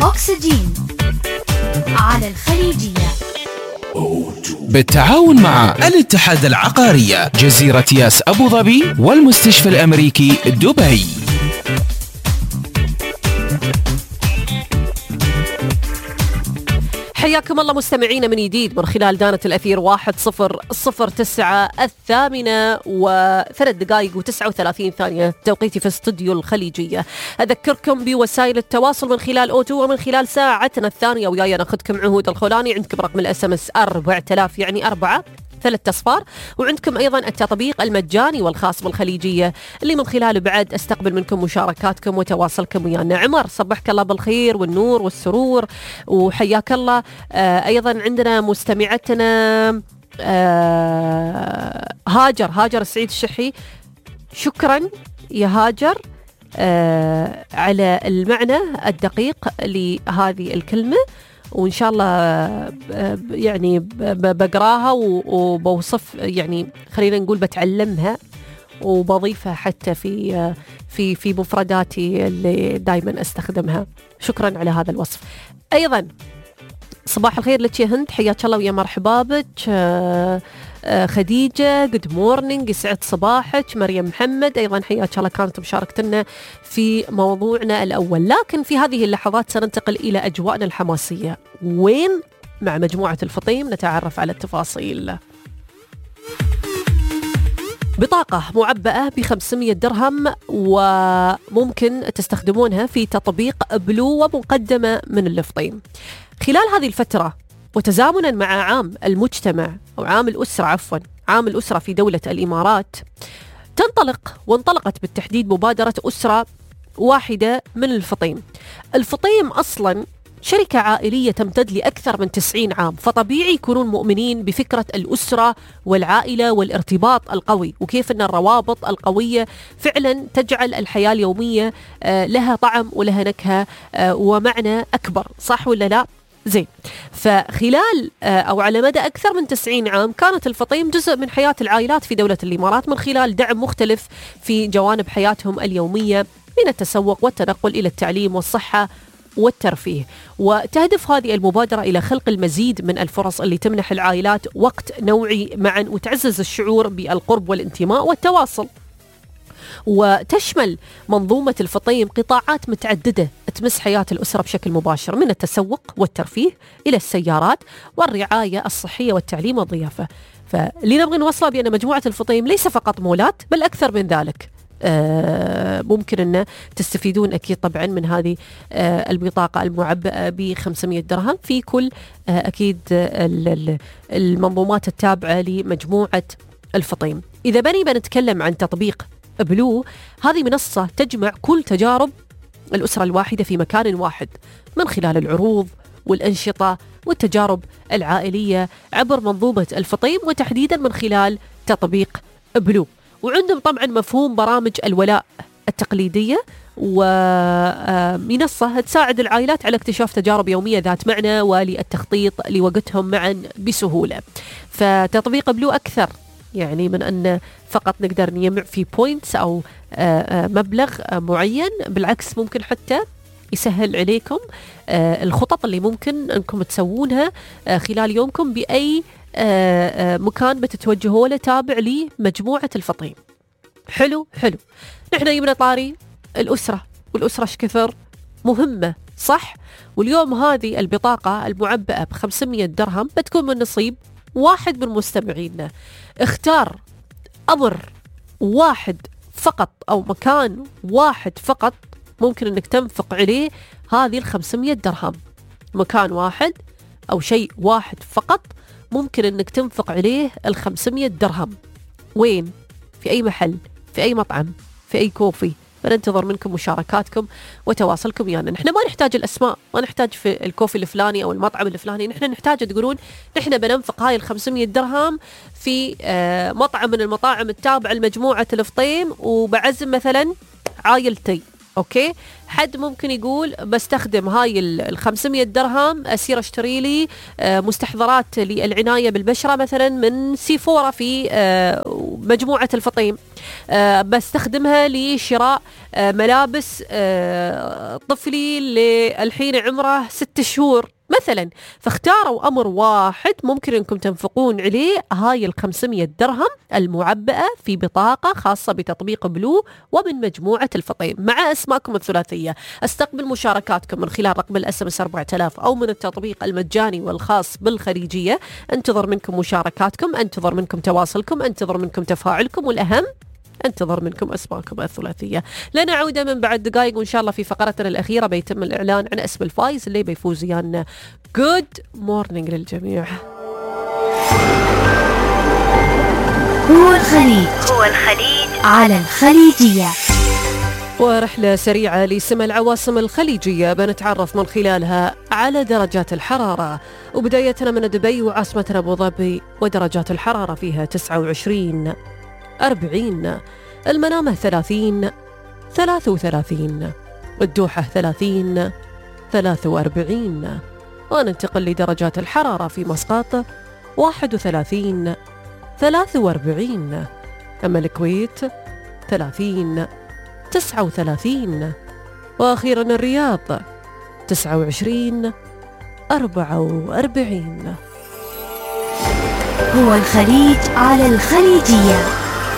أكسجين على الخليجية بالتعاون مع الاتحاد العقارية جزيرة ياس أبو ظبي والمستشفى الأمريكي دبي. حياكم الله مستمعينا من جديد من خلال دانة الأثير 1009 الثامنة و3 دقائق و39 ثانية توقيتي في استوديو الخليجية. أذكركم بوسائل التواصل من خلال أوتو ومن خلال ساعتنا الثانية وياي ناخذكم عهود الخولاني. عندكم رقم الSMS 4000 يعني 4 3 أصفار، وعندكم أيضا التطبيق المجاني والخاص بالخليجية اللي من خلاله بعد أستقبل منكم مشاركاتكم وتواصلكم ويانا. عمر صبحك الله بالخير والنور والسرور وحياك الله. أيضا عندنا مستمعتنا هاجر السعيد الشحي، شكرا يا هاجر على المعنى الدقيق لهذه الكلمة، وإن شاء الله يعني بقراها وبوصف، يعني خلينا نقول بتعلمها وبضيفها حتى في مفرداتي اللي دايما استخدمها. شكرا على هذا الوصف. أيضا صباح الخير لك يا هند، حياك الله ويا مرحبا بك. خديجة جود مورنينج، يسعد صباحك. مريم محمد أيضا حياك الله، كانت مشاركتنا في موضوعنا الأول. لكن في هذه اللحظات سننتقل إلى أجواءنا الحماسية. وين؟ مع مجموعة الفطيم نتعرف على التفاصيل. بطاقة معبأة ب500 درهم وممكن تستخدمونها في تطبيق بلو ومقدمة من الفطيم. خلال هذه الفترة وتزامنا مع عام المجتمع أو عام الأسرة في دولة الإمارات، وانطلقت بالتحديد مبادرة أسرة واحدة من الفطيم. الفطيم أصلا شركة عائلية تمتد لأكثر من 90 عام، فطبيعي يكونون مؤمنين بفكرة الأسرة والعائلة والارتباط القوي، وكيف أن الروابط القوية فعلا تجعل الحياة اليومية لها طعم ولها نكهة ومعنى أكبر، صح ولا لا؟ زين. فخلال أو على مدى أكثر من 90 عام كانت الفطيم جزء من حياة العائلات في دولة الإمارات من خلال دعم مختلف في جوانب حياتهم اليومية، من التسوق والتنقل إلى التعليم والصحة والترفيه. وتهدف هذه المبادرة إلى خلق المزيد من الفرص اللي تمنح العائلات وقت نوعي معا وتعزز الشعور بالقرب والانتماء والتواصل. وتشمل منظومة الفطيم قطاعات متعددة تمس حياة الأسرة بشكل مباشر، من التسوق والترفيه إلى السيارات والرعاية الصحية والتعليم والضيافة. فاللي نبغي نوصله بأن مجموعة الفطيم ليس فقط مولات بل أكثر من ذلك. ممكن أن تستفيدون أكيد طبعا من هذه البطاقة المعبأة ب500 درهم في كل أكيد المنظومات التابعة لمجموعة الفطيم. إذا بنتكلم عن تطبيق بلو، هذه منصة تجمع كل تجارب الأسرة الواحدة في مكان واحد من خلال العروض والأنشطة والتجارب العائلية عبر منظومة الفطيم، وتحديدا من خلال تطبيق بلو. وعندهم طبعا مفهوم برامج الولاء التقليدية، ومنصة تساعد العائلات على اكتشاف تجارب يومية ذات معنى وللتخطيط لوقتهم معا بسهولة. فتطبيق بلو أكثر يعني من أن فقط نقدر نجمع في بوينتس أو مبلغ معين، بالعكس ممكن حتى يسهل عليكم الخطط اللي ممكن أنكم تسوونها خلال يومكم بأي مكان بتتوجهوا له تابع لمجموعة الفطيم. حلو. نحن يمنا طاري الأسرة، والأسرة شكثر مهمة، صح؟ واليوم هذه البطاقة المعبأة ب500 درهم بتكون من نصيب واحد من مستمعينا. اختار أمر واحد فقط أو مكان واحد فقط ممكن أنك تنفق عليه هذه 500 درهم. مكان واحد أو شيء واحد فقط ممكن أنك تنفق عليه 500 درهم. وين؟ في أي محل، في أي مطعم، في أي كوفي. بننتظر منكم مشاركاتكم وتواصلكم يعني. نحن ما نحتاج الأسماء، ما نحتاج في الكوفي الفلاني أو المطعم الفلاني، نحن نحتاج تقولون نحن بننفق هاي 500 درهم في مطعم من المطاعم التابعة لمجموعة الفطيم، وبعزم مثلا عائلتي أوكي. حد ممكن يقول بستخدم هاي 500 درهم أسير أشتري لي مستحضرات للعناية بالبشرة مثلا من سيفورا في مجموعة الفطيم، بستخدمها لشراء ملابس طفلي الحين عمره 6 شهور مثلا. فاختاروا أمر واحد ممكن أنكم تنفقون عليه هاي 500 درهم المعبأة في بطاقة خاصة بتطبيق بلو ومن مجموعة الفطيم مع أسماءكم الثلاثية. استقبل مشاركاتكم من خلال رقم الSMS 4000 أو من التطبيق المجاني والخاص بالخليجية. انتظر منكم مشاركاتكم، انتظر منكم تواصلكم، انتظر منكم تفاعلكم، والأهم انتظر منكم أسماءكم الثلاثية. لن أعود من بعد دقائق وإن شاء الله في فقرتنا الأخيرة بيتم الإعلان عن اسم الفائز اللي بيفوز ويانا. Good morning للجميع. هو الخليج على الخليجية. ورحلة سريعة لسمى العواصم الخليجية بنتعرف من خلالها على درجات الحرارة، وبدايتنا من دبي وعاصمتنا أبو ظبي، ودرجات الحرارة فيها 29 40، المنامة 30 33، الدوحة 30 43، وننتقل لدرجات الحرارة في مسقط 31 43، أما الكويت 30 39، وأخيرا الرياض 29 44. هو الخليج على الخليجية.